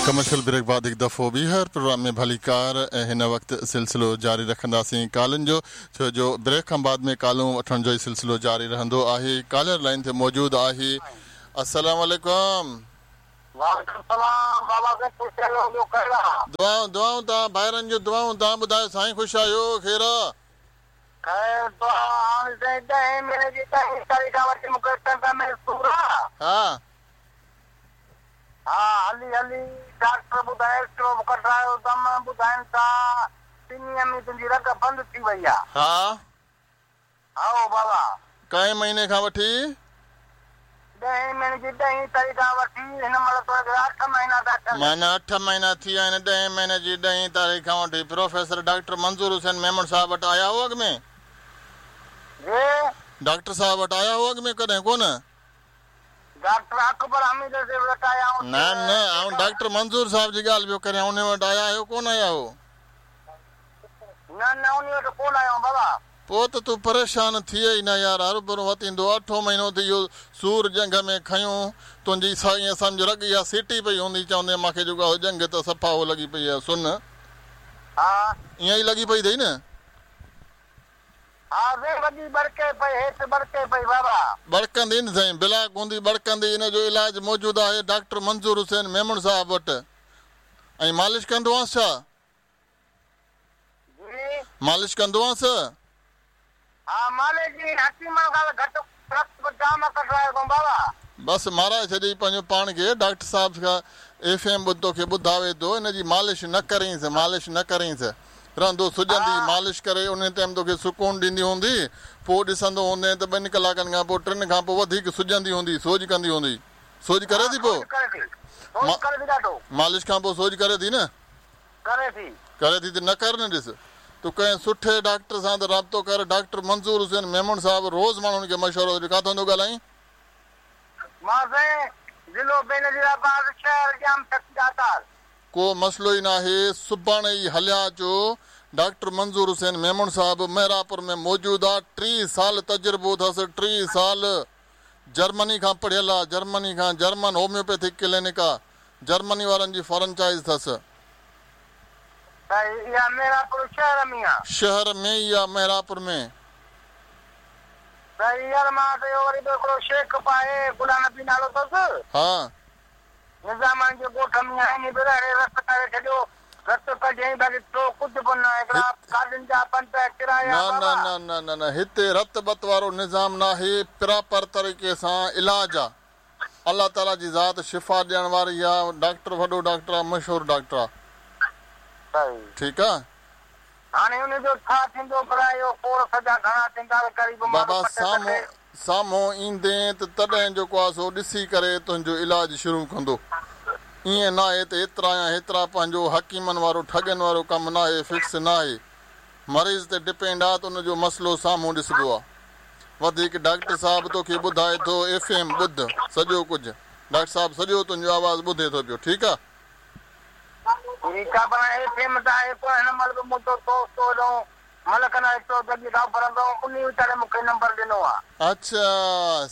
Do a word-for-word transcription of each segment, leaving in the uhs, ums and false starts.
Commercial break بعد هڪ دفعو ٻيهر پروگرام ۾ ڀليڪار ۽ هن وقت سلسلو جاري رکنداسين ڪالن جو، ڇو جو بريڪ کان بعد ۾ ڪالون وٺڻ جو ئي سلسلو جاري رهندو آهي. ڪالر لائن تي موجود آهي. السلام عليڪم. وعليڪم السلام بابا سائين، خوش آهيو؟ ٻيو خير آ؟ دعائون دعائون توهان ڀائرن جون دعائون. توهان ٻڌايو سائين، خوش آهيو؟ خير آ؟ خير دعا. هاڻي سائين ڏهين مهيني جي ڏهين تاريخ کان وٺي مون کي ٽنگ ۾ سور آ. ها ها، هلي هلي ڊاڪٽر ٻڌائي ايڪسرو به ڪڍرايو اٿم، ٻڌائين ٿا ٻنهي ۾ تنهنجي رڳ بند ٿي وئي آ. ها هائو بابا. ڪئين مهيني کان وٺي؟ ڏهين مهيني جي ڏهين تاريخ کان وٺي هن مهل توکي اٺ مهينا ٿا ٿين. معنيٰ اٺ مهينا ٿي ويا آهن ڏهين مهيني جي ڏهين تاريخ کان وٺي. پروفيسر ڊاڪٽر منظور حسين ميمڻ صاحب وٽ آيا هو اڳ ۾؟ جي؟ ڊاڪٽر صاحب وٽ آيا هو اڳ ۾ ڪڏهن ڪونه؟ ڊاڪٽر اڪبر حميد جي وٽ آيا آهيون. نه نه، آئون ڊاڪٽر منظور صاحب جي ڳالهه پيو ڪريان، ان وٽ آيا آهيو ڪونه آيا هو؟ نه نه، ان وٽ ڪونه آيو بابا. پوءِ ته تون پريشان ٿئي ئي نه يار، هروڀرو وتيندو. اٺون مهينو ٿي اهو سور ڄنگهه ۾ کنيو تنهنجي، ائين سمجهه رڳ اها سيٽي پئي هوندي، چوندي مون کي جيڪو آهي ڄنگهه ته صفا اهو لڳي پئي آهي سن. ها. ائين ئي لڳي پئي اٿئي نه؟ ها سائين، وڏي ٻڙڪي پئي، هيٺ ٻڙڪي پئي بابا. ٻڙڪندي نه سائين، بلاڪ هوندي ٻڙڪندي. ان جو علاج موجود آهي ڊاڪٽر منظور حسين ميمڻ صاحب وٽ. ۽ مالش ڪندو آهيانس ڇا؟ جي؟ مالش ڪندو آهيانس؟ ها، مالش جي حڪيمن کان گهٽ رت به جام ڪڍرايو اٿئون بابا. بس مارائي ڇڏي پنهنجو پاڻ کي. ڊاڪٽر صاحب کان ايف ايم ٻڌ، توکي ٻڌاوي ٿو. ان جي مالش نه ڪرينس، مالش نه ڪرينس، رهندو سڄندي. مالش ڪري ان ٽائيم توکي سڪون ڏيندي هوندي، پوءِ ڏسندو هوندي ته ٻن ڪلاڪن کان پوءِ ٽن کان پوءِ وڌيڪ سڄندي هوندي، سوڄ ڪندي هوندي. سوڄ ڪري ٿي پوءِ؟ مالش کان پوءِ سوڄ ڪري ٿي نه؟ ڪري ٿي. ڪري ٿي ته نه ڪر نه. ڏس تون ڪنهن سٺي ڊاڪٽر سان ته رابطو ڪر. ڊاڪٽر منظور حسين ميمڻ صاحب روز ماڻهن کي مشورو. ڪاٿان ٿو ڳالهائين؟ مان سائين ضلعو بينظيرآباد، شهر ڄام داتار. ڪو مسئلو ئي ناهي، سڀاڻي ئي هليا اچو. ڊاڪٽر منظور حسين ميمڻ صاحب مهراپور ۾ موجود آهي. ٽيهه سال تجربو اٿس، ٽيهه سال. جرمني کان پڙهيل آهي، جرمني کان. جرمن هوميوپيٿڪ ڪلينڪ آهي، جرمني وارن جي فرنچائز اٿس. اها مهراپور شهر ۾ آهي؟ شهر ۾ ئي آهي، مهراپور ۾. صحيح يار، مان ته اهو وري ٻيو هڪڙو شيخ به آهي، غلام نبي نالو اٿس. ها نظاماڻي جي ڳوٺ ۾ آهن به رت ڪري ڇڏيو، رت ڪڍيائين، باقي ٿيو ڪجهه به نه. هڪڙا گاڏين جا پنج ڪرايا. نه نه نه نه نه نه، هتي رت بت وارو نظام ناهي، پراپر طريقي سان علاج آهي. الله تعاليٰ جي ذات شفا ڏيڻ واري آهي. ڊاڪٽر وڏو ڊاڪٽر آهي، مشهور ڊاڪٽر آهي. ٺيڪ آهي. هاڻي ان جو ڇا ٿيندو؟ پر اهو ڪورس جا گهڻا ٿيندا قريب؟ بابا، سامهون سامهون ايندي ته تڏهن جيڪو آهي سو ڏسي ڪري تنهنجو علاج شروع ڪندو. ائين نه آهي ته ايترا يا هيترا، پنهنجو حڪيمن وارو ٺڳن وارو ڪم نه آهي، فڪس نه آهي. مريض تي ڊپينڊ آهي ته ان جو مسئلو سامهون ڏسبو آهي. وڌيڪ ڊاڪٽر صاحب توکي ٻڌائي ٿو. ايف ايم ٻڌ سڄو ڪجهه، ڊاڪٽر صاحب سڄو تنهنجو آواز ٻڌي ٿو پيو. ٺيڪ آهي. ٺيڪ آهي، پر ايف ايم ته آهي ڪونه هن مهل به. منهنجو دوست هيڏو ملڪ نه هڪڙو جڳهه کان ڦرندو، ان ويچاري مون کي نمبر ڏنو آهي. اڇا،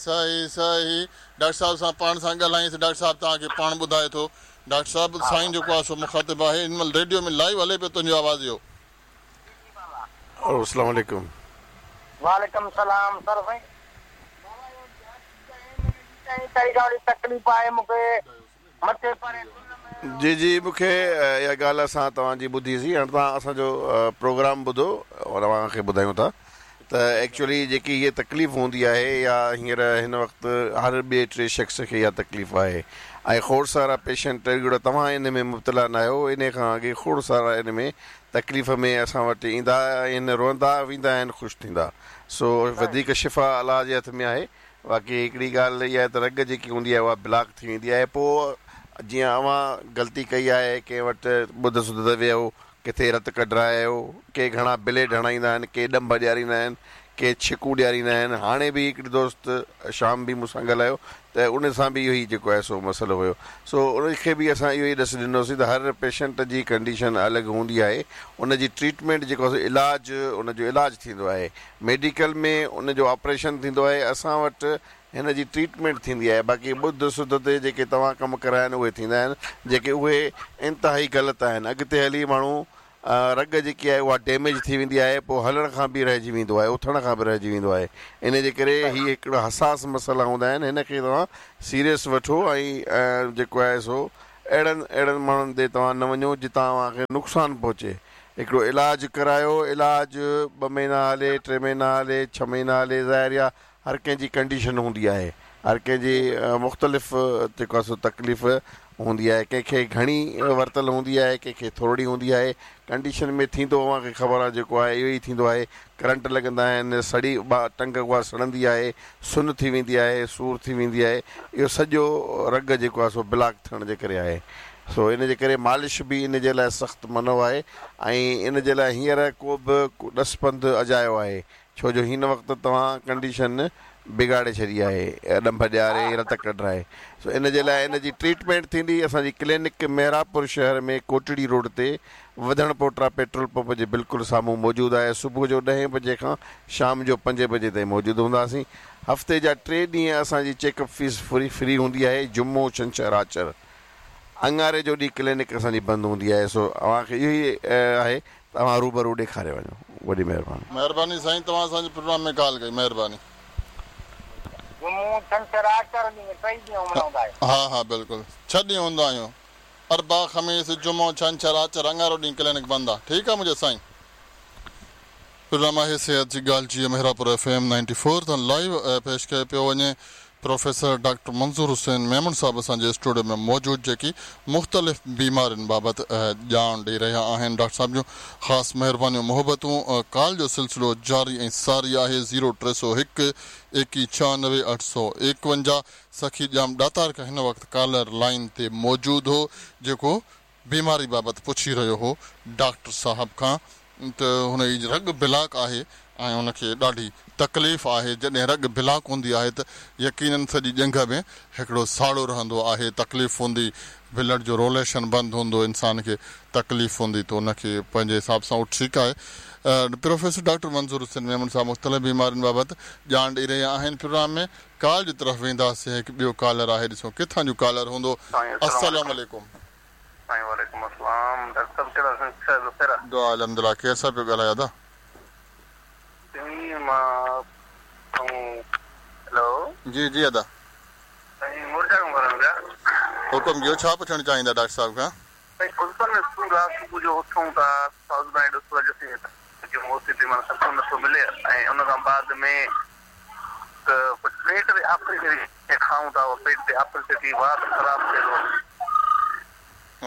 صحيح صحيح. ڊاڪٽر صاحب سان پاڻ سان ڳالهائينس، ڊاڪٽر صاحب توهان کي پاڻ ٻڌائي ٿو. ڊاڪٽر صاحب سائين جيڪو آهي سو مخاطب آهي. هن مهل ريڊيو ۾ لائيو هلي پيو تنهنجو آواز اهو. السلام عليڪم. وعليڪم سلام سر. سائين تاريخ تڪليف آهي مون کي مٿي پري. جي جي، مون کي اها ڳالهه اسان توهان جي ٻڌيسين. هاڻي توهان اسان جو پروگرام ٻڌو اور اوهان کي ٻڌايون ٿا ته ايڪچوئلي جيڪي هيءَ تڪليف هوندي آهي يا هينئر هن وقت هر ٻئي ٽي شخص کي اها تڪليف آهي ۽ کوڙ سارا پيشنٽ، هڪڙو توهان ان ۾ مبتلا نه آهيو، ان کان اڳي کوڙ سارا ان ۾ تڪليف ۾ اسان وٽ ايندا آهن، روئندا ويندا آهن، خوش ٿيندا. سو وڌيڪ شفا الله جي هٿ ۾ آهي. باقي هڪڙي ڳالهه اها آهي ته رڳ جيڪي هوندي آهي اها بلاڪ ٿي ويندي آهي. پوءِ جيئن اوهان غلطي ڪئي آهي، ڪنهن وٽ ٻڌ سڌ ويو، ڪٿي رت ڪڍرايو، ڪي گهڻا بليڊ هڻائيندا آهن، ڪي ڏنڀ ڏياريندا آهن، ڪي ڇڪون ڏياريندا آهن. هاڻي به هڪڙي دوست شام به مون سان ڳالهايو ته ان سان به اهو ئي جيڪو آهي سو مسئلو هيو. سو ان کي به اسان اهو ئي ڏس ڏنوسين ته هر پيشنٽ جي ڪنڊيشن الڳ هوندي آهي، ان جي ٽريٽمينٽ جيڪو آهي علاج، ان جو علاج ٿيندو آهي ميڊيڪل ۾، ان جو آپريشن ٿيندو آهي. اسان وٽ هن جي ٽريٽمينٽ ٿيندي آهي. باقي ٻڌ سڌ تي جيڪي توهان ڪم ڪرايا آهن اهي ٿيندا آهن، جيڪي اهي انتهائي غلط آهن. اڳتي هلي ماڻهو رڳ جيڪي آهي اها ڊيميج ٿي ويندي آهي، پوءِ هلڻ کان به رهجي ويندو آهي، اٿڻ کان به رهجي ويندو آهي. ان جي ڪري هيءَ هڪڙو حساس مسئلا هوندا آهن، هن کي توهان سيريس وٺو ۽ جيڪو آهي سو اهڙن اهڙن ماڻهن تي توهان نه وڃو جتان توهان کي نقصان پهچي. هڪڙو علاج ڪرايو، علاج ٻه مهينا هلي، ٽي مهينا هلي، ڇهه مهينا هلي، ظاهر آهي هر ڪنهن جي ڪنڊيشن هوندي آهي، هر ڪنهن جي مختلف جيڪو آهي سو تڪليف هوندي آهي، ڪنهن کي گهڻي ورتل هوندي آهي، ڪنهن کي ٿورڙي هوندي آهي. ڪنڊيشن ۾ ٿيندو اوهان کي خبر آهي جيڪو آهي اهو ئي ٿيندو آهي. ڪرنٽ لڳندا آهن، سڙي ٽنگ اها سڙندي آهي، سن ٿي ويندي آهي، سور ٿي ويندي آهي. اهو سڄو رڳ جيڪو آهي سو بلاڪ ٿيڻ جي ڪري آهي. سو ان جي ڪري مالش به ان جي لاءِ سخت منع آهي ۽ ان جي لاءِ هينئر ڪو به ڏس پنڌ اجايو آهي، ڇو جو هن وقت توهان ڪنڊيشن بگاڙي ڇڏي آهي، ڏنڀ ڏياري رت ڪڍرائي. سو ان جي لاءِ ان جي ٽريٽمينٽ ٿيندي. اسان جي ڪلينڪ مهراپور شهر ۾ ڪوٽڙي روڊ تي وڌڻ پوٽرا پيٽرول پمپ جي بلڪل سامهون موجود آهي. صبح جو ڏهين بجي کان شام جو پنجين بجي تائين موجود هونداسين. هفتي جا ٽي ڏينهن اسان جي check up fee free free هوندي آهي، جمعو، ڇنڇر، آچر. اڱاري جو ڏينهن ڪلينڪ اسان جي بند هوندي آهي. سو اوهان کي اهو ئي آهي ته اوهان روبرو ڏيکاري وڃو. وڏي مهرباني. مهرباني سائين، توهان اسان جي پروگرام ۾ ڳالهه ڪئي، مهرباني. ها ها بلڪل، ڇهه ڏينهن هوندا آهيون، اربع، خميس، جمعو، ڇنڇر، آچر، اڱارو ڏينهن ڪلينڪ بند آهي. ٺيڪ آهي منهنجو سائين. پروگرام آهي صحت جي ڳالهه جيئن Mehrapur F M ninety four تان لائيو پيش ڪيو پيو وڃي. پروفيسر ڊاڪٽر منظور حسين ميمڻ صاحب اسان جي اسٽوڊيو ۾ موجود، جيڪي مختلف بيمارين بابت ڄاڻ ڏيئي رهيا آهن. ڊاڪٽر صاحب جون خاص مهربانيون، محبتون. ڪال جو سلسلو جاري ۽ ساري آهي. زيرو ٽي سؤ هڪ ايڪويهه ڇهانوي اٺ سؤ ايڪونجاهه. سکي ڄام ڏاتار کان هن وقت ڪالر لائن تي موجود هو، جيڪو بيماري بابت پڇي رهيو هو ڊاڪٽر صاحب کان ته هن جي رڳ بلاڪ آهي ۽ هن کي ڏاڍي تڪليف آهي. جڏهن رڳ بلاڪ هوندي آهي ته يقينن سڄي ڄنگهه ۾ هڪڙو ساڙو رهندو آهي، تڪليف هوندي، بلڊ جو روليشن بند هوندو، انسان کي تڪليف هوندي، ته هن کي پنهنجي حساب سان اهو ٺيڪ آهي. پروفيسر ڊاڪٽر منظور حسين ميمڻ صاحب مختلف بيمارين بابت ڄاڻ ڏيئي رهيا آهن. پروگرام ۾ ڪال جي طرف وينداسين. هڪ ٻيو ڪالر آهي، ڏسو ڪٿان جو ڪالر هوندو. السلام عليڪم. وعليڪم السلام. ڊاڪٽر صاحب ڪهڙا خير؟ دعا الحمدلله. ڪير صاحب پيو ڳالهايو ادا؟ هيلو. جي جي ادا، حڪم ڪيو، ڇا پڇڻ چاهيندا ڊاڪٽر صاحب کان؟ صبح جو اٿون ٿا سڪون نٿو ملي ۽ ان کان بعد ۾ پيٽ تي آپريشن کائون ٿا، پيٽ تي آپريشن ٿي وات خراب ٿئي ٿو.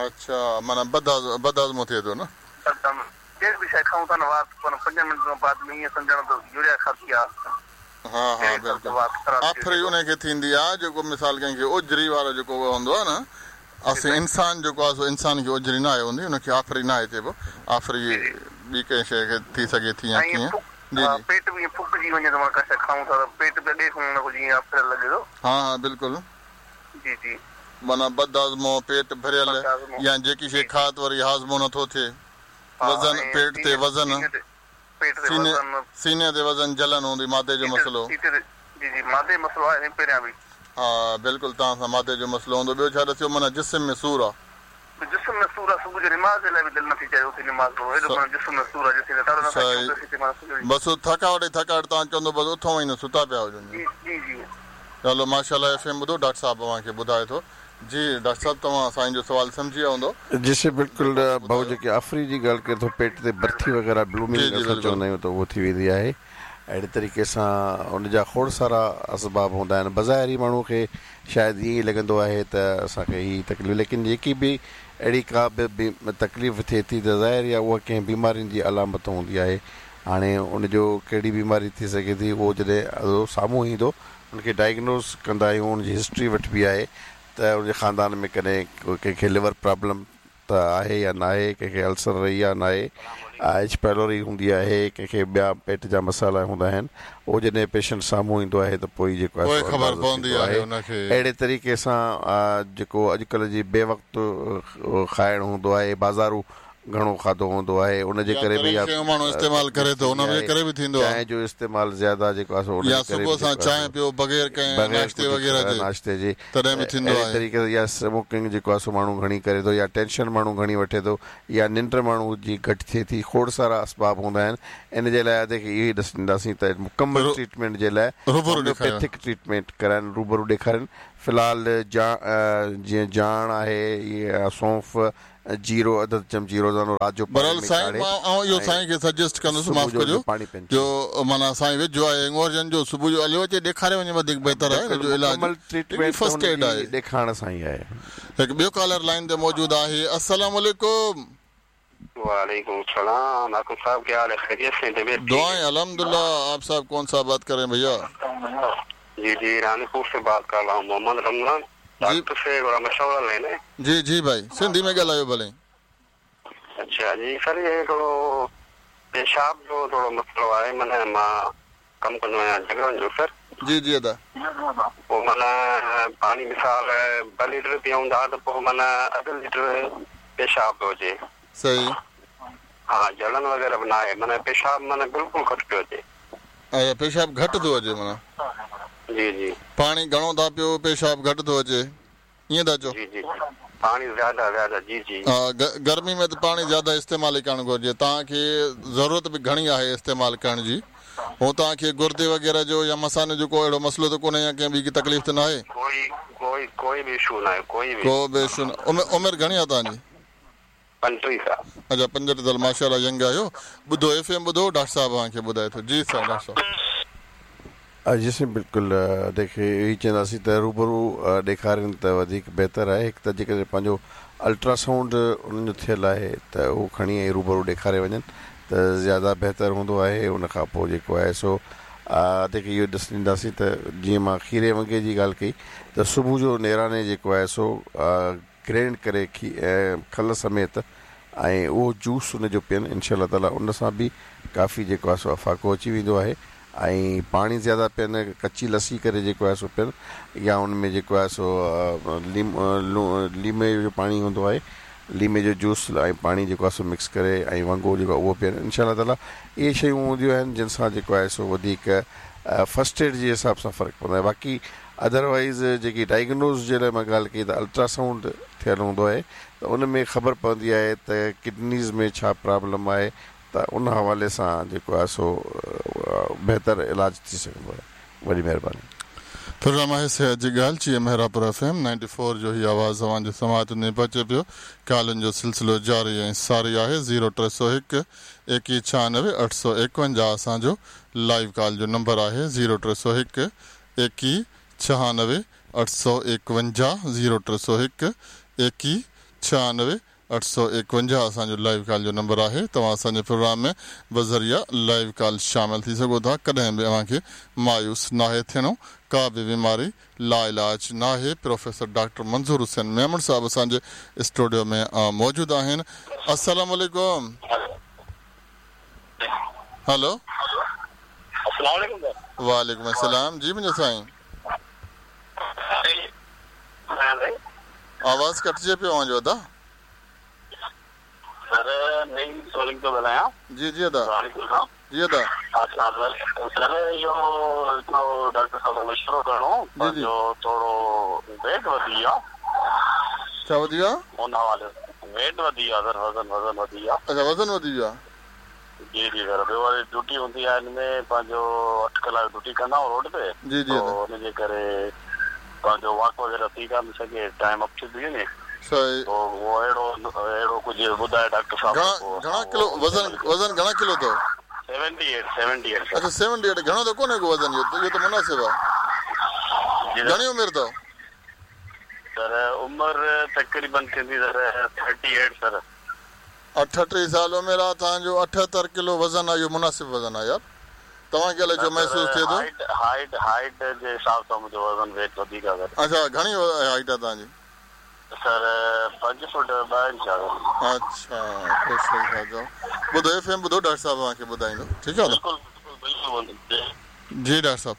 اڇا، معنيٰ بدهاضمو ٿئي ٿو نه؟ ڪهڙي به شيءِ کائون ٿا نه وات پنج منٽ کان بعد ۾ ائين سمجهڻ ته يوريا کاڌي آهي. ها ها بلڪل. آفري ان کي ٿيندي آهي جيڪو مثال ڪنهن کي اجري وارو جيڪو هوندو آهي نه، اسين انسان جيڪو آهي سو انسان کي اجري نه آهي هوندي، هن کي آفري نه آهي چئبو. آفري ٻي ڪنهن شيءِ کي ٿي سگهي ٿي يا ڪيئن. جي جي پيٽ به ائين ڦڪجي وڃي ٿو، معنيٰ ڪا شيءِ کائون ٿا ته پيٽ به اڳي کان هن کان جيئن آفريل لڳي ٿو. ها ها بلڪل. جي جي معنيٰ بدهاضمو، پيٽ ڀريل، يا جيڪي شيءِ کاءُ ته وري هاضمو نٿو ٿئي، وزن، پيٽ تي وزن، سيني سيني تي وزن، جلن هوندي، مادي جو مسئلو. جي جي مادي جو مسئلو آهي پهريان به. ها بلڪل، توهان سان مادي جو مسئلو هوندو. ٻيو ڇا ڏسيو؟ معنيٰ جسم ۾ سور آهي. جسم ۾ سور آهي، صبح جو نماز جي لاءِ به دل نٿي چاهي اٿي نماز پڙهو، ايڏو معنيٰ جسم ۾ سور آهي. بس ٿڪاوٽ ئي ٿڪاوٽ، توهان چوندو بس اٿو ئي نه، ستا پيا هجو. جي جي جي هلو ماشاءَ ايف ايم ٻڌو، ڊاڪٽر صاحب اوهان کي ٻڌائي ٿو. جي ڊاڪٽر صاحب، توهان سائين جو سوال سمجهي ويا هوندو. جي سي بلڪل. ڀائو جيڪي آفري جي ڳالهه ڪري ٿو، پيٽ تي برٿي وغيره بلومنگ اسان چوندا آهيون ته اهو ٿي ويندي آهي. اهڙي طريقي سان ان جا کوڙ سارا اسباب هوندا آهن. بظاهر ئي ماڻهوءَ کي شايد ائين ئي لڳندو آهي ته اسان کي هيءَ تڪليف، ليڪن جيڪي به اهڙي ڪا به تڪليف ٿئي ٿي ته ظاهر آهي اها ڪنهن بيمارين جي علامت هوندي آهي. هاڻي ان جو ڪهڙي بيماري ٿي سگهي ٿي اهو جڏهن سامهون ايندو ان کي ڊائگنوز ڪندا آهيون، ان جي هسٽري وٺبي آهي ته ان جي خاندان ۾ ڪڏهن ڪنهن کي ليور پرابلم ته آهي يا نه آهي، ڪنهن کي السر رهي آهي نه آهي، ايڇ پيلوري هوندي آهي، ڪنهن کي ٻيا پيٽ جا مسئلا هوندا آهن. اهو جڏهن پيشنٽ سامهون ايندو آهي ته پوءِ جيڪو آهي خبر پوندي آهي ان کي. اهڙي طريقي سان جيڪو اڄڪلهه جي بي وقت کائڻ هوندو آهي، بازارو گهڻو کاڌو هوندو آهي ان جي ڪري به يا ماڻهو استعمال ڪري ٿو ان جي ڪري به ٿيندو آهي چانهه جو استعمال زياده جيڪو آهي سو ان يا صبح سان چانهه پيو بغير ڪنهن ناشتي وغيره جي ناشتي جي تڏهن به ٿيندو آهي اهڙي طريقي سان يا سموڪنگ جيڪو آهي سو ماڻهو گهڻي ڪري ٿو يا ٽينشن ماڻهو گهڻي وٺي ٿو يا ننڊ ماڻهو جي گهٽ ٿئي ٿي کوڙ سارا اسباب هوندا آهن ان جي لاء ادي کي اهو ئي ڏس ڏينداسين ته مڪمل ٽريٽمينٽ جي لاء روبرو هوميوپيٿڪ ٽريٽمينٽ ڪرائن روبرو ڏيکارين في الحال جيئن جاڻ آهي يا سونف جيرو اڌ اڌ چمچي روزانو رات جو بهرحال سائين مان آئون اهو سائين کي سجيسٽ ڪندس معاف ڪجو جو معنيٰ سائين ويجهو آهي هڱورجن جو صبح جو هليو اچي ڏيکاري وڃي وڌيڪ بهتر آهي جو علاج ٽريٽمينٽ فرسٽ ايڊ آهي ڏيکارڻ سان ئي آهي هڪ ٻيو ڪالر لائن تي موجود آهي السلام عليڪم वालेकुम सलाम हाकिम साहब क्या हाल है खैरियत से तबीयत दुआएं अल्हम्दुलिल्लाह आप साहब कौन सा बात कर रहे हैं भैया जी जी रानीपुर से बात कर रहा हूँ मोहम्मद रमजान डॉक्टर से थोड़ा मशवरा लेना है जी जी भाई सिंधी में ॻाल्हायो भले अच्छा जी सर ये थोरो पेशाब जो थोरो मसइलो आहे माना मां कमु कंदो आहियां जॻहनि जो सर जी जी अदा पोइ माना पाणी मिसाल ॿ लीटर पियूं था त पोइ माना अधु लीटर पेशाब पियो अचे सही हा जलन वग़ैरह बि न आहे माना पेशाब माना बिल्कुलु घटि पियो अचे अच्छा पेशाब घटि थो अचे माना जी जी पाणी घणो था पियो पेशाब घटि थो अचे ईअं था चओ जी जी पाणी ज़्यादा ज़्यादा जी जी हा गर्मी में त पाणी ज़्यादा इस्तेमालु ई करणु घुरिजे तव्हांखे ज़रूरत बि घणी आहे इस्तेमालु करण जी हूं तव्हांखे गुर्दे वग़ैरह जो या मसाने जो को अहिड़ो मसइलो त कोन्हे या कंहिं ॿी तकलीफ़ त न आहे कोई कोई कोई बि इशू न आहे कोई बि को बि इशू न उमिरि घणी आहे तव्हांजी पंटीह साल अच्छा पंजटीह साल माशाअल्लाह यंग आहियो ॿुधो एफ एम ॿुधो डॉक्टर साहिबु तव्हांखे ॿुधाए थो जी साईं डॉक्टर साहिबु जी साईं बिल्कुलु देखे इहो ई चवंदासीं त रूबरू ॾेखारनि त वधीक बहितर आहे हिकु त जेकॾहिं पंहिंजो अल्ट्रासाउंड उन्हनि जो थियल आहे त उहो खणी ऐं रूबरू ॾेखारे वञनि त ज़्यादा बहितर हूंदो आहे उन खां पोइ जेको आहे सो देखे इहो ॾिस ॾींदासीं त जीअं मां खीरे वङे जी ॻाल्हि कई त सुबुह जो नेराने जेको आहे सो ग्राइंड करे खल समेत ऐं उहो जूस उनजो पीअनि इनशा ताला उन सां बि काफ़ी जेको आहे सो अफाको अची वेंदो आहे ऐं पाणी ज़्यादा पीअनि कच्ची लस्सी करे जेको आहे सो पीअनि या उन में जेको आहे सो लीम लीमे जो पाणी हूंदो आहे लीमे जो जूस ऐं पाणी जेको आहे सो मिक्स करे ऐं वङो जेको आहे उहो पीअनि इनशा ताला इहे शयूं हूंदियूं आहिनि जिन सां जेको आहे सो वधीक फर्स्ट एड जे हिसाब सां फ़र्क़ु पवंदो आहे बाक़ी अदरवाइज़ जेकी डायग्नोज जे लाइ मां ॻाल्हि कई त अल्ट्रासाउंड थियल हूंदो आहे त उन में ख़बर पवंदी आहे त किडनीज़ में छा प्रॉब्लम आहे त उन हवाले सां जेको आहे सो बहितर इलाज थी सघंदो आहे वॾी महिरबानी प्रोग्राम आहे सिहत जी ॻाल्हि जी Mehrabpur F M ninety four जो ही आवाज़ तव्हांजे समात में पहुचे पियो कॉलनि जो सिलसिलो जारी ऐं सारी आहे ज़ीरो टे सौ हिकु एकवीह छियानवे अठ सौ एकवंजाह असांजो लाइव कॉल जो नंबर आहे ज़ीरो टे सौ हिकु एकवीह छियानवे अठ सौ एकवंजाह ज़ीरो टे सौ हिकु एकवीह छियानवे अठ सौ एकवंजाह असांजो लाइव कॉल जो नंबर आहे तव्हां असांजे प्रोग्राम में बज़रिया लाइव कॉल शामिल थी सघो था कॾहिं बि अव्हांखे मायूस नाहे थियणो का बि बीमारी लाइलाज नाहे प्रोफेसर डॉक्टर मंज़ूर हुसैन मेमण साहब असांजे स्टूडियो में मौजूदु आहिनि अस्सलाम वालेकुम हेलो वालेकुम अस्सलाम जी मुंहिंजो साईं आवाज़ कटिजे पियो अव्हांजो अदा सर नहीं सोलिंग थो ॻाल्हायां जी जी अदा जी अदा अच्छा सर इहो हिकिड़ो डॉक्टर साहब सां मशवरो करिणो पंहिंजो थोरो वेट वधी वियो आहे छा वधी वियो आहे उन हवाले वेट वधी वियो आहे सर वज़न वज़न वधी वियो आहे अच्छा वज़न वधी वियो आहे जी जी सर ॿियो वरी ड्यूटी हूंदी आहे हिन में पंहिंजो अठ कलाक ड्यूटी कंदा आहियूं रोड ते जी जी हुनजे करे पंहिंजो वॉक वग़ैरह थी कान सघे टाइम अप थी वञे सही तो उहो अहिड़ो अहिड़ो कुझु ॿुधाए डॉक्टर साहब घणा किलो वज़न वज़न घणा किलो अथव सेवेंटी एट सेवेंटी एट अच्छा सेवेंटी एट घणो त कोन्हे को वज़न इहो इहो त मुनासिब आहे घणी उमिरि अथव सर उमिरि तक़रीबन थींदी सर थर्टी एट सर अठटीह साल उमिरि आहे तव्हांजो अठहतरि किलो वज़न आहे इहो मुनासिब वज़न आहे यार तव्हांखे अलाए छो महसूसु थिए थो हाइट हाइट हाइट जे हिसाब सां मुंहिंजो वज़न वेट वधीक आहे सर अच्छा घणी हाइट आहे तव्हांजी सर पंज फुट ॿ इंच आहे अच्छा सही था चओ ॿुधो एफ एम ॿुधो डॉक्टर साहब तव्हांखे ॿुधाईंदो ठीकु आहे बिल्कुलु बिल्कुलु जी डॉक्टर साहब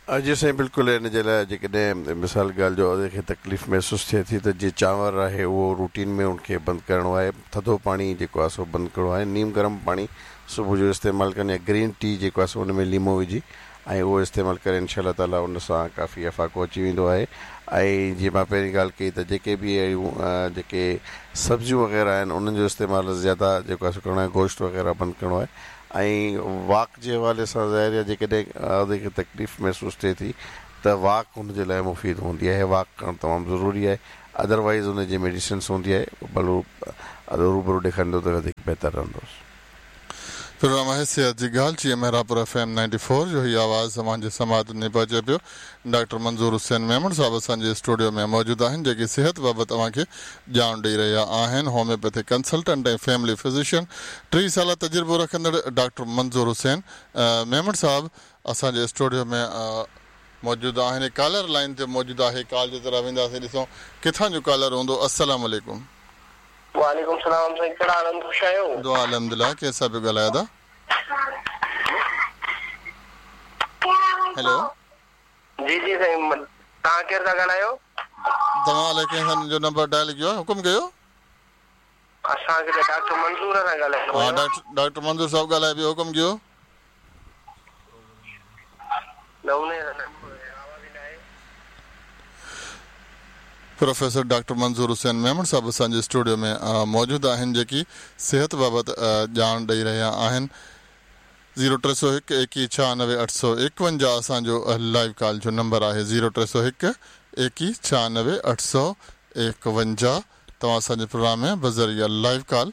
جي سائين بلڪل ان جي لاءِ جيڪڏهن مثال ڳالهه جو کي تڪليف محسوس ٿئي ٿي ته جيئن چانور آهي اهو روٽين ۾ ان کي بند ڪرڻو آهي، ٿڌو پاڻي جيڪو آهي سو بند ڪرڻو آهي، نيم گرم پاڻي صبح جو استعمال ڪن يا گرين ٽي جيڪو آهي سو ان ۾ ليمو وجهي ۽ اهو استعمال ڪري انشا الله تالا ان سان ڪافي افاقو اچي ويندو آهي. ۽ جيئن مان پهرين ڳالهه ڪئي ته جيڪي به اهڙيون جيڪي سبزيون وغيره آهن انهن جو استعمال زياده جيڪو آهي سو ڪرڻو آهي، گوشت وغيره بند ڪرڻو آهي. ۽ واڪ جي حوالي سان ظاهر آهي جيڪڏهن ان کي تڪليف محسوس ٿئي ٿي ته واڪ هن جي لاءِ مفيد هوندي آهي، واڪ ڪرڻ تمام ضروري آهي. ادروائيز هن جي ميڊيسنس هوندي آهي ڀلو روبرو ڏيکاريندو ته وڌيڪ بهتر رهندو. پروگرام آهي صحت جي ڳالهه جيئن Mehrabpur F M ninety four جو هي آواز اوهان جي سماعتن ۾ پهچي پيو. ڊاڪٽر منظور حسين ميمڻ صاحب اسان جي اسٽوڊيو ۾ موجود آهن جيڪي صحت بابت اوهان کي ڄاڻ ڏيئي رهيا آهن. هوميوپيٿڪ ڪنسلٽنٽ ۽ فيملي فزيشن، ٽيهه سال تجربو رکندڙ ڊاڪٽر منظور حسين ميمڻ صاحب اسان جي اسٽوڊيو ۾ موجود آهن. ڪالر لائن تي موجود آهي، ڪال جي طرف وينداسين، ڏسون ڪٿان جو ڪالر هوندو. السلام عليڪم. وعليڪم سلام سائين، ڪهڙا حال آهن؟ خوش آهيو؟ دعا الحمدلله. ڪنهن سان پيو ڳالهايو ادا؟ هيلو. جي جي سائين، توهان ڪير ٿا ڳالهايو؟ توهان الائي ڪنهن سان جو نمبر ڊائل ڪيو آهي، حڪم ڪيو. اسان کي ته ڊاڪٽر منظور سان ڳالهائڻو ها، ڊاڪٽر ڊاڪٽر منظور صاحب ڳالهائي پيو، حڪم ڪيو. نه ان آواز ئي نه آهي. پروفيسر ڊاڪٽر منظور حسين ميمڻ صاحب اسان جي اسٽوڊيو ۾ موجود آهن جيڪي صحت بابت ڄاڻ ڏيئي رهيا آهن. زيرو ٽي سؤ هڪ ايڪويهه ڇهانوي اٺ سؤ ايڪونجاهه اسان جو لائيو ڪال جو نمبر آهي. زيرو ٽي سؤ هڪ ايڪويهه ڇهانوي اٺ سؤ ايڪونجاهه. توهان اسان جي پروگرام ۾ بذريعا لائيو ڪال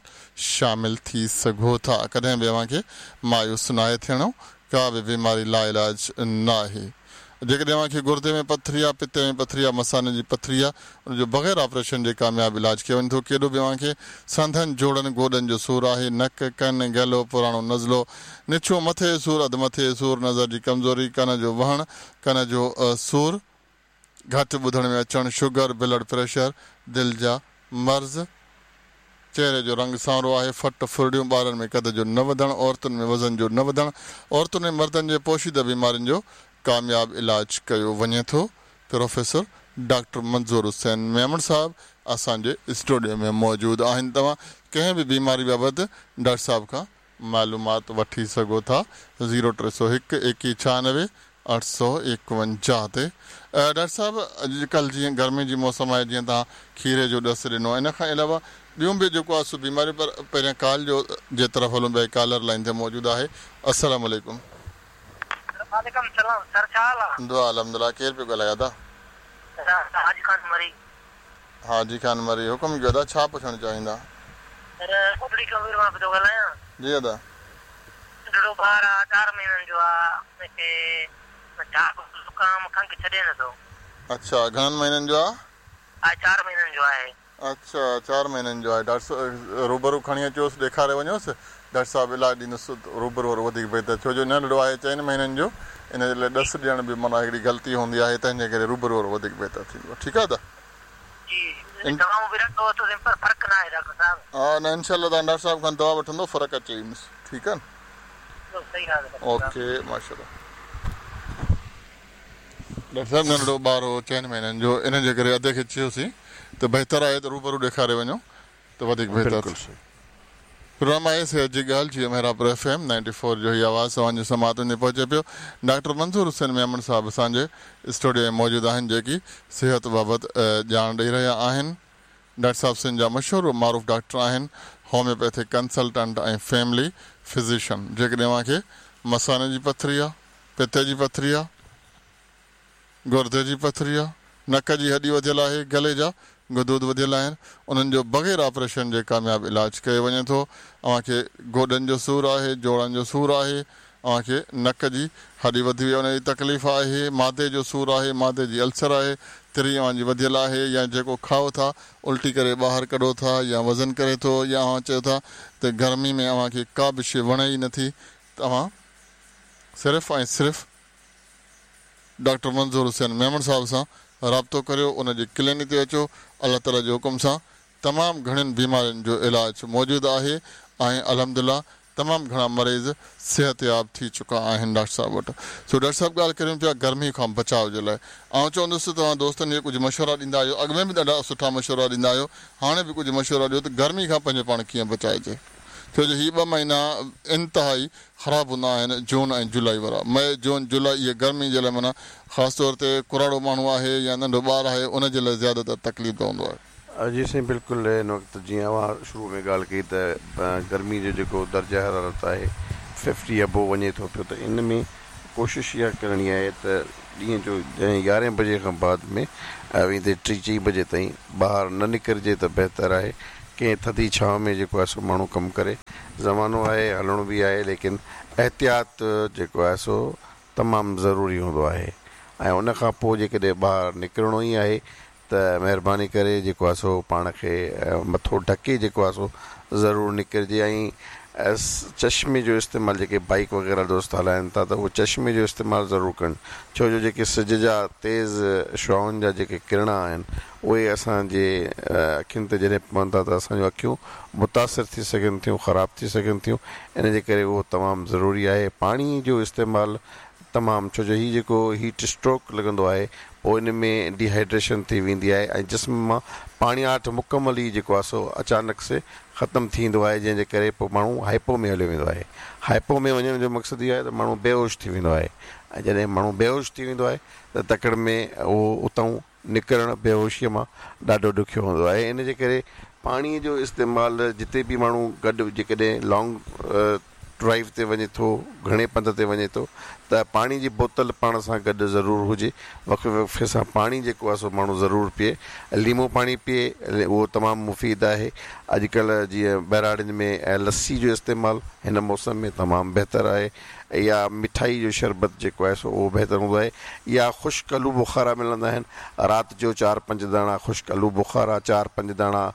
شامل ٿي سگهو ٿا. ڪڏهن به اوهان کي مايوس ناهي ٿيڻو، ڪا به بيماري لا علاج نه آهي. جيڪڏهن اوهان کي گردي ۾ پٿري آهي، پتي ۾ پٿري آهي، مثاني جي پٿري آهي، ان جو بغير آپريشن جي ڪامياب علاج ڪيو وڃي ٿو. ڪيڏو به اوهان کي سنڌن، جوڙن، گوڏن جو سور آهي، نڪ، ڪن، گلو، پراڻو نزلو، نڇو، مٿي جو سور، اڌ مٿي جو سور، نظر جي ڪمزوري، ڪن جو وهڻ، ڪن جو سور، گهٽ ٻڌڻ ۾ اچڻ، شگر، بلڊ پريشر، دل جا مرض، چهري جو رنگ سانورو آهي، ڦٽ ڦرڙيون، ٻارن ۾ قد جو نه وڌڻ، عورتن ۾ وزن جو نه وڌڻ، عورتن ۽ مردن جي پوشيده بيمارين جو ڪامياب علاج ڪيو وڃي ٿو. پروفيسر ڊاڪٽر منظور حسين ميمڻ صاحب اسان جي اسٽوڊيو ۾ موجود آهن. توهان ڪنهن به بيماري بابت ڊاڪٽر صاحب کان معلومات وٺي سگهو ٿا. زيرو ٽي سؤ هڪ ايڪويهه ڇهانوي اٺ سؤ ايڪونجاهه تي. ڊاڪٽر صاحب، اڄڪلهه جيئن گرمي جي موسم آهي، جيئن توهان کيري جو ڏس ڏنو، ان کان علاوه ٻيون به جيڪو آهي سو بيماريون، پر پهريان ڪال جو جي طرف هلون پيا. ڪالر لائن تي موجود آهي. السلام عليڪم. وعليڪم سلام سر، ڇا حال آهي؟ دعا الحمدلله. ڪير پيو ڳالهائي ادا؟ حاجي خان مري. حاجي خان مري، حڪم ڪيو ادا، ڇا پڇڻ چاهيندا؟ سر، ڪوٽڙي ڪبير مان پيو ڳالهايان. جي ادا. ننڍڙو ٻار آهي، چار مهينن جو آهي، هن کي زڪام کنگهه ڇڏي نٿو. اڇا، گهڻن مهينن جو آهي؟ آهي چار مهينن جو آهي. اڇا، چار مهينن جو آهي. ڊاڪٽر صاحب روبرو کڻي اچوس، ڏيکاري وڃوس، ڊاڪٽر صاحب علاج ڏيندس. روبرو وارو وڌيڪ بهتر، ڇو جو ننڍڙو آهي چئن مهينن جو، ان جي لاءِ ڏس ڏيڻ به معنيٰ هڪڙي غلطي هوندي آهي، تنهن جي ڪري روبرو وارو وڌيڪ بهتر ٿيندو. ٺيڪ آهي ادا؟ جي، دوائون به رکندو اٿس پر فرق نه آهي ڊاڪٽر صاحب. ها نه، انشا الله توهان ڊاڪٽر صاحب کان دوا وٺندو فرق اچي ويندس. ٺيڪ آهي نه؟ اوڪي، ماشا الله. ڊاڪٽر صاحب، ننڍڙو ٻار هو چئن مهينن جو، ان جي ڪري ادي کي چيوسين ته بهتر آهي ته روبرو ڏيکاري وڃو ته وڌيڪ بهتر. پروگرام آهي صحت جي ڳالهه جيئن Mehrapur F M ninety four جو هي آواز توهان جي سماعتن ۾ پهچي پيو. ڊاڪٽر منظور حسين ميمڻ صاحب اسان جي اسٽوڊيو ۾ موجود آهن جيڪي صحت بابت ڄاڻ ڏيئي رهيا آهن. ڊاڪٽر صاحب سنڌ جا مشهور معروف ڊاڪٽر آهن، هوميوپيٿڪ ڪنسلٽنٽ ۽ فيملي فزيشن. جيڪڏهن اوهان کي مثاني جي پٿري آهي، پتي جي پٿري آهي، گردي جي پٿري آهي، نڪ جي هڏي وڌيل آهي، گلي جا غدود وڌيل آهن، انهن جو بغير آپريشن جي ڪامياب علاج ڪيو وڃي ٿو. اوهان کي گوڏن جو سور آهي، جوڙن جو سور آهي، اوهان کي نڪ جي هڏي وڌي وئي ان جي تڪليف آهي، مادي جو سور آهي، مادي جي السر آهي، تري اوهان جي وڌيل آهي، يا جيڪو کائو ٿا الٽي ڪري ٻاهر ڪڍو ٿا، يا وزن ڪري ٿو، يا اوهان چئو ٿا ته گرمي ۾ اوهان کي ڪا به شيءِ وڻي ئي نٿي، ته اوهان صرف ۽ صرف ڊاڪٽر منظور حسين ميمڻ صاحب سان رابطو ڪريو، ان جي ڪلينڪ تي اچو. الله تعاليٰ جي حڪم سان تمام گهڻين بيمارين جو علاج موجود آهي ۽ الحمدلله تمام گهڻا مريض صحتياب ٿي چڪا آهن ڊاڪٽر صاحب وٽ. سو ڊاڪٽر صاحب ڳالهه ڪريون پيا گرمي کان بچاء جي لاء. آئون چوندس ته توهان دوستن کي ڪجهه مشورا ڏيندا آهيو، اڳ ۾ به ڏاڍا سٺا مشورا ڏيندا آهيو، هاڻي به ڪجهه مشورا ڏيو ته گرمي کان پنهنجو پاڻ ڪيئن بچائجي، ڇو جو هي ٻه مهينا انتهائي خراب هوندا آهن، جون ۽ جولاء وارا، مئي جون جولاء، اهي گرمي جي لاء معنيٰ خاص طور تي ڪراڙو ماڻهو آهي يا ننڍو ٻار آهي ان جي لاء زياده تر تڪليف ده هوندو آهي. جي سائين بلڪل، هن وقت جيئن اوهان شروع ۾ ڳالهه ڪئي ته گرمي جو جيڪو درجه حرارت آهي ففٽي ابو وڃي ٿو پيو، ته ان ۾ ڪوشش اها ڪرڻي آهي ته ڏينهن جو جڏهن يارهين بجي کان بعد ۾ ويندي ٽي چئين بجي تائين ٻاهر نه نڪرجي ته بهتر آهي. ڪنهن ٿڌي ڇانو ۾ جيڪو آهي سو ماڻهو ڪم ڪري، زمانو آهي هلڻو به آهي، ليڪن احتياط جيڪو آهي سو تمام ضروري هوندو آهي. ۽ ان کان پوءِ جيڪڏهن ٻاهر نڪرڻو ئي آهي ته مهرباني ڪري جيڪو آهي سو پاڻ کي مٿو ڍڪي جيڪو آهي سو ضرور نڪرجي. ۽ چشمي جو استعمال جيڪي بائيڪ وغيره دوست هلائين ٿا ته اهو چشمي جو استعمال ضرور ڪن، ڇو جو جيڪي سج جا تيز شعاعن جا جيڪي ڪرڻا آهن اهي اسان جي اکين تي جڏهن پون ٿا ته اسان جون اکيون متاثر ٿي سگهن ٿيون، خراب ٿي سگهن ٿيون. ان جي ڪري اهو تمام ضروري آهي. پاڻي جو استعمال تمام، ڇو جو هي جيڪو هيٽ اسٽروڪ لڳندو آهي پوءِ ان ۾ ڊيهائيڊريشن ٿي ويندي آهي ۽ جسم مان پاڻياٺ مڪمل ئي جيڪو آهي سو اچانڪ سي ختم ٿي ويندو آهي، جنهن جي ڪري پوءِ ماڻهو هائپو ۾ هليو ويندو آهي. هائپو ۾ وڃڻ جو مقصد اهو آهي ته ماڻهو بيهوش ٿي ويندو آهي، ۽ جڏهن ماڻهو بيهوش ٿي ويندو آهي ته تڪڙ ۾ اهو اتان نڪرڻ بيهوشيءَ مان ڏاڍو ڏکيو هوندو آهي. ان جي ڪري پاڻيءَ جو استعمال جتي به ماڻهو گڏ جيڪڏهن لانگ ڊرائيو تي وڃي ٿو، گهڻي پنڌ تي وڃي ٿو ته پاڻي جي بوتل پاڻ سان گڏ ضرور هجي. وقفي وقفي سان پاڻي جيڪو آهي سو ماڻهو ضرور پيئي، ليمو پاڻي پيئي، اهو تمام مفيد آهي. اڄڪلهه جيئن ٻهراڙين ۾ لسي جو استعمال هن موسم ۾ تمام بهتر آهي، يا مٺائي جو شربت جيڪو آهي سو اهو بهتر هوندو آهي، يا خشڪ آلو بخارا ملندا آهن، رات جو چار پنج داڻا خشڪ آلو بخارا، چار پنج داڻا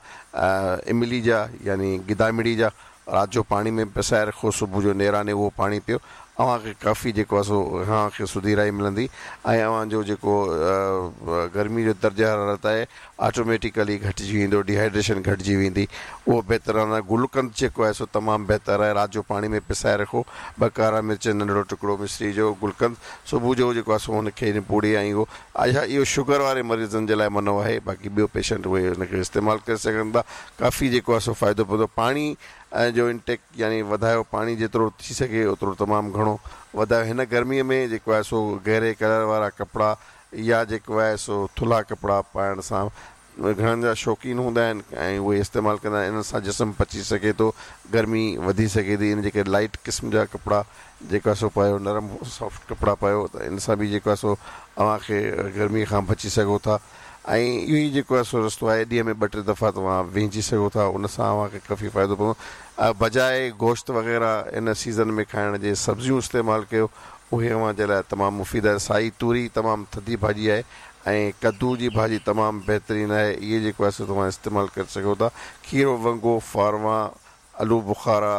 املي جا يعني گدامڙي جا رات جو پاڻي ۾ پسائي رکو، صبح جو نيراني اهو پاڻي پيو، اوهان کي ڪافي جيڪو آهي سو اوهان کي سڌيرائي ملندي ۽ اوهان جو جيڪو گرمي جو درجه حرارت آهي آٽوميٽڪلي گهٽجي ويندو، ڊيهائيڊريشن گهٽجي ويندي، اهو بهتر رهندو. گلقند جيڪو آهي سو تمام بهتر آهي، رات جو پاڻي ۾ پسائي رکو، ٻه ڪارا مرچ، ننڍڙو ٽڪڙو مصري جو، گلقند صبح جو جيڪو آهي سو هن کي نپوڙي ۽ اهو اڇا اهو شگر واري مريضن جي لاءِ منو آهي، باقي ٻيو پيشنٽ اهي هن کي استعمال ڪري سگهن ٿا. ڪافي جيڪو آهي سو فائدو پوندو. پاڻي جو انٽيڪ يعني وڌايو، پاڻي جيترو ٿي سگهي اوترو تمام گهڻو وڌايو. هن گرميءَ ۾ جيڪو آهي سو گهري ڪلر وارا ڪپڙا يا جيڪو آهي سو ٿلها ڪپڙا پائڻ سان گهڻن جا شوقين هوندا آهن ۽ اهي استعمال ڪندا آهن، ان سان جسم پچي سگهي ٿو، گرمي وڌي سگهي ٿي. ان جي ڪري لائيٽ قسم جا ڪپڙا جيڪو آهي سو پايو، نرم سافٽ ڪپڙا پايو ته ان سان به جيڪو آهي سو اوهان کي گرميءَ کان بچي سگهو ٿا. ۽ اهو ئي جيڪو آهي سو رستو آهي. ڏينهن ۾ ٻه ٽي دفعا توهان وهنجي سگهو ٿا، ان سان اوهان کي ڪافي فائدو پوندو. بجاءِ گوشت وغيره ان سيزن ۾ کائڻ جي سبزيون استعمال ڪيو، اهي اوهان جي لاءِ تمام مفيد آهي. سائي توري تمام ٿڌي ڀاڄي آهي ۽ ڪدو جي ڀاڄي تمام بهترين آهي، اهي جيڪو آهي سو توهان استعمال ڪري سگهو ٿا. کيرو، ونگو، فاروان، آلو بخارا،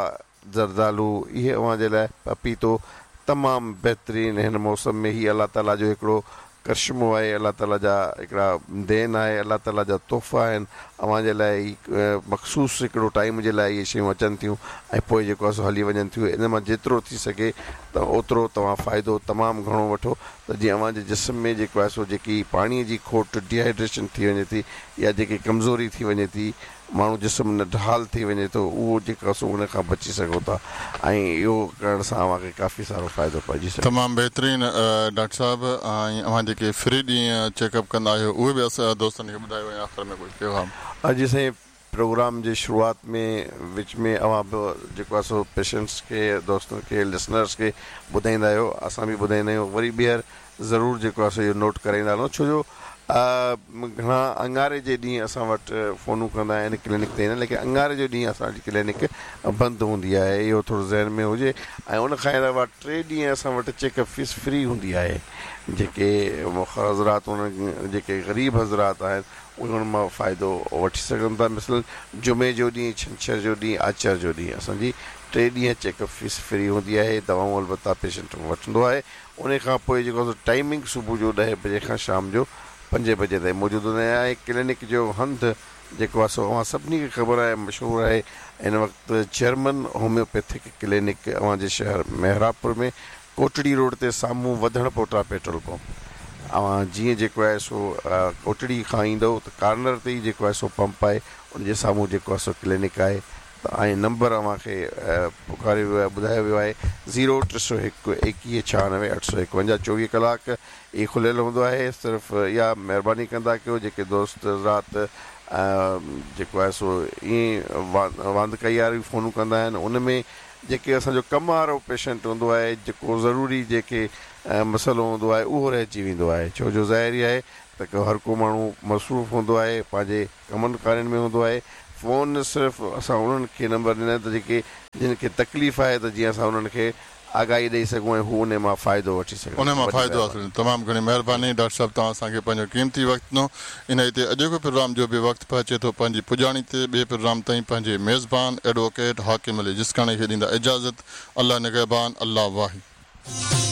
زردالو، اهي اوهان جي لاءِ پپيتو تمام بهترين هن موسم ۾. هي الله تعاليٰ جو هڪڙو ڪرشمو آهي، الله تعاليٰ جا هڪڙا دين آهي، الله تعاليٰ جا تحفا آهن اوهان جي لاءِ. هي مخصوص هڪڙو ٽائيم جي لاءِ اهي شيون اچن ٿيون ۽ پوءِ جيڪو آهي سو هلي وڃن ٿيون. ان مان جيترو ٿي سگهي ته اوترو توهان فائدو تمام گهڻو وٺو ته جيئن اوهان جي جسم ۾ جيڪو آهي سو جيڪي پاڻيءَ جي کوٽ، ڊيهائيڊريشن ٿي وڃي ٿي يا جيڪي ڪمزوري ٿي وڃي ٿي، ماڻهو جسم نه ڍال ٿي وڃي ٿو، اهو جيڪو آهي سو ان کان بچي سگهو ٿا ۽ اهو ڪرڻ سان اوهان کي ڪافي سارو فائدو پئجي سگهي. تمام بهترين ڊاڪٽر صاحب. ۽ اوهان جيڪي فري ڏينهن چيڪ اپ ڪندا آهيو اهي به اسان دوستن کي ٻڌايو ۽ آخر ۾ ڪجهه پيغام. اڄ سائين پروگرام جي شروعات ۾ وچ ۾ اوهان به جيڪو آهي سو پيشنٽس کي، دوستن کي، لسنرس کي ٻڌائيندا آهيو، اسان به ٻڌائيندا آهيون. وري ٻيهر ضرور جيڪو آهي سو اهو نوٽ ڪرائيندا هلون، ڇو جو گهڻا اڱاري جي ڏينهن اسان وٽ فونون ڪندا آهن ڪلينڪ تي ايندا آهن، ليڪن اڱاري جو ڏينهن اسان جي ڪلينڪ بند هوندي آهي، اهو ٿورو ذهن ۾ هجي. ۽ ان کان علاوه ٽي ڏينهن اسان وٽ چيڪ اپ فيس فري هوندي آهي. جيڪي حضرات انهن جيڪي غريب حضرات آهن اهي هن مان فائدو وٺي سگهن ٿا. مثلاً جمعي جو ڏينهن، ڇنڇر جو ڏينهن، آچر جو ڏينهن اسان جي ٽي ڏينهن چيڪ اپ فيس فري هوندي آهي. دوائون البته پيشنٽ وٺندو آهي. ان کان پوءِ جيڪو ٽائيمنگ صبح جو ڏهين بجي کان شام جو پنجين بجي تائين موجود هوندا آهن. ۽ ڪلينڪ جو هنڌ جيڪو آهي سو اوهان سڀني کي خبر آهي، مشهور آهي. هن وقت چيئرمين هوميوپيٿڪ ڪلينڪ اوهان جي شهر محرابپور ۾ ڪوٽڙي روڊ تي سامهون وڌڻ پوٽا پيٽرول پمپ، اوهان جيئن جيڪو آهي سو ڪوٽڙي کان ايندو ته ڪارنر تي ئي جيڪو آهي سو پمپ آهي، ان جي سامهون جيڪو آهي سو ڪلينڪ آهي. ته ۽ نمبر اوهان کي پڪاريو ويو آهي، ٻڌايو ويو آهي زيرو ٽي سؤ هڪ ايڪويهه ڇهانوي اٺ سؤ ايڪونجاهه، چوويهه ڪلاڪ هي کليل هوندو آهي. صرف اها مهرباني ڪندا ڪيو جيڪي دوست حضرات جيڪو آهي سو ائين واندڪائي واريون فونون ڪندا آهن، ان ۾ جيڪي اسان جو ڪم وارو پيشنٽ هوندو آهي، جيڪو ضروري جيڪي مسئلو هوندو آهي اهو رهجي ويندو آهي. ڇو جو ظاهر ئي آهي ته هر ڪو ماڻهو مصروف هوندو آهي، پنهنجي ڪمن ڪارين ۾ هوندو آهي. فون صرف اسان انهن کي نمبر ڏنا ته جيڪي جن کي تڪليف آهي ته جيئن اسان انهن کي آگاهي ڏئي سگهون ۽ هو ان مان فائدو وٺي سگهن. ان مان فائدو حاصل. تمام گهڻي مهرباني ڊاڪٽر صاحب، توهان اسان کي پنهنجو قيمتي وقت ڏنو. انهيء تي اڄوڪو پروگرام جو به وقت پهچي ٿو پنهنجي پڄاڻي تي. ٻئي پروگرام تائين پنهنجي ميزبان ايڊووڪيٽ حاڪم علي جسڪاڻي کي ڏيندا اجازت. الله نگهبان، الله واهي.